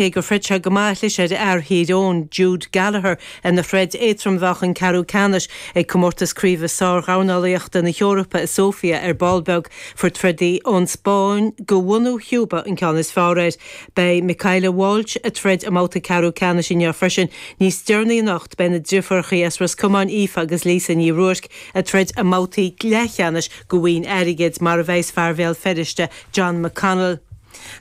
Cé gur throid sé go maith, chlis ar fhear Thír Eoghain, Jude Gallagher, ina throid éadrom a bheadh an ceathrú ceannais ag Comórtas Craoibhe Sár-Dhornálaíochta na hEorpa i Sóifia ar ball beag. Fuair trodaí ón Spáinn de bhunadh Chúba an ceann is fearr air. Beidh Michaela Walsh ag troid i mbabhta ceathrú ceannais inniu freisin. Níos deireanaí anocht beidh na driofúrachaí as Ros Comáin Aoife agus Lisa Ní Ruairc ag troid i mbabhtaí leathcheannais do bhoinn airgid, mar a bheas fear Bhéal Feirste, John McConnell.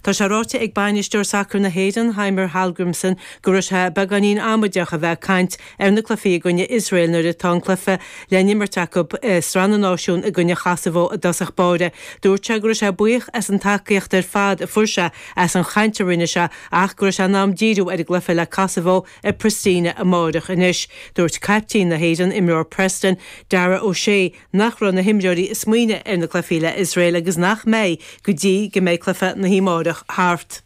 Tá sé ráite ag bainisteoir sacair na hÉireann, Heimir Hallgrímsson, go raibh sé beagáinín amaideach a bheith ag caint ar na cluichí i gcoinne Iosrael nuair atá an cluiche le n-imirt acu i Sraith na Náisiún i gcoinne Chosaivo i dtosach báire. Dúirt sé go raibh sé buíoch as an tacaíocht ar fad a fuair sé as an chaint a rinne sé ach go raibh sé in am díriú ar an gcluiche le Kosovo i Pristina amáireach anois. Dúirt caiptín na hÉireann, imreoir Preston, Dara O'Shea, nach raibh na himreoirí ag smaoineamh ar na cluichí le Iosrael agus nach mbeidh go dtí go mbeidh cluiche na hamárach thart.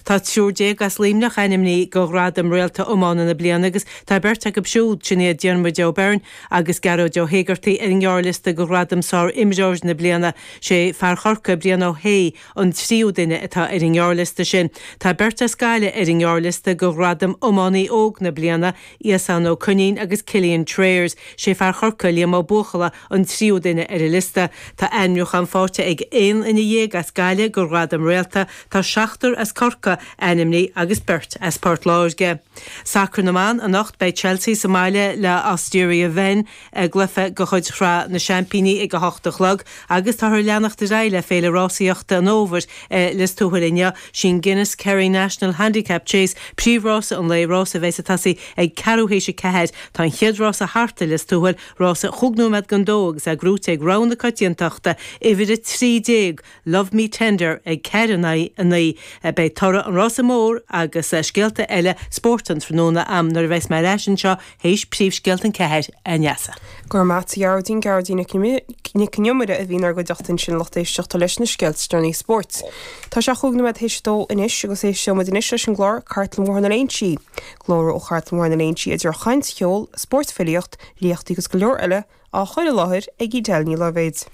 Tá 13 as Luimneach ainmnithe do ghradam Réalta Iomána na Bliana agus tá beirt acu siúd, sin iad Diarmuid O'Byrne agus Gearóid Ó hÉigeartaigh, ar an ngearrliosta do ghradam Sár-Imreoir na Bliana. Sé fear Chorcaí, Brian Ó hAodha, an tríú duine atá ar an ngearrliosta sin. Tá beirt as Gaillimh ar an ngearrliosta do ghradam Iománaí Óg na Bliana, Iasán Ó Coinín agus Cillian Trayers. Sé fear Chorcaí, Liam Ó Buachalla, an tríú duine ar an liosta. Tá ainmniúchán faighte ag 11 duine as Gaillimh do ghradam Réalta. Tá seachtar as Corcaigh ainmnithe agus beirt as Port Láirge. Sacar na mBan, Anocht beidh Chelsea sa mbaile le Osteria Wien i gcluiche de chuid Shraith na Seaimpíní ag 8 a chlog agus táthar ag leanacht ar aghaidh le Féile Rásaíochta an Fhómhair i Lios Tuathail inniu. Sí'n Guinness Kerry National Handicap Chase príomhrása an lae, rása a bheas ag tosaí ag ceathrú théis a ceathair. Tá an chéad rása thart i Lios Tuathail, rása chúig nóiméad don dó agus é gnóite ag rogha na coitiantachta, uimhir 13, Love Me Tender ag 4 in aghaidh 9. Beidh toradh an rása mór agus scéalta eile spóirt an tráthnóna a'm nuair a bheas mé ar ais anseo théis príomhscéalta an 4, a Neasa. Go raibh maith a't a Ghearóidín, Gearóidín Nic Con Iomaire a bhí inár gcuideachta ansin lucht éisteachta leis na scéalta is deireanaí spóirt. Tá sé chúig nóiméad théis a dó anois agus éisteoidh muid anois leis an gclár Cartlann Bhóthar na Léinsí. Glór ó Chartlann Bhóthar na Léinsí idir chaint, cheol, spórt, filíocht, léachtaí agus go leor eile á chur i láthair ag Edel Ní Loibhéid.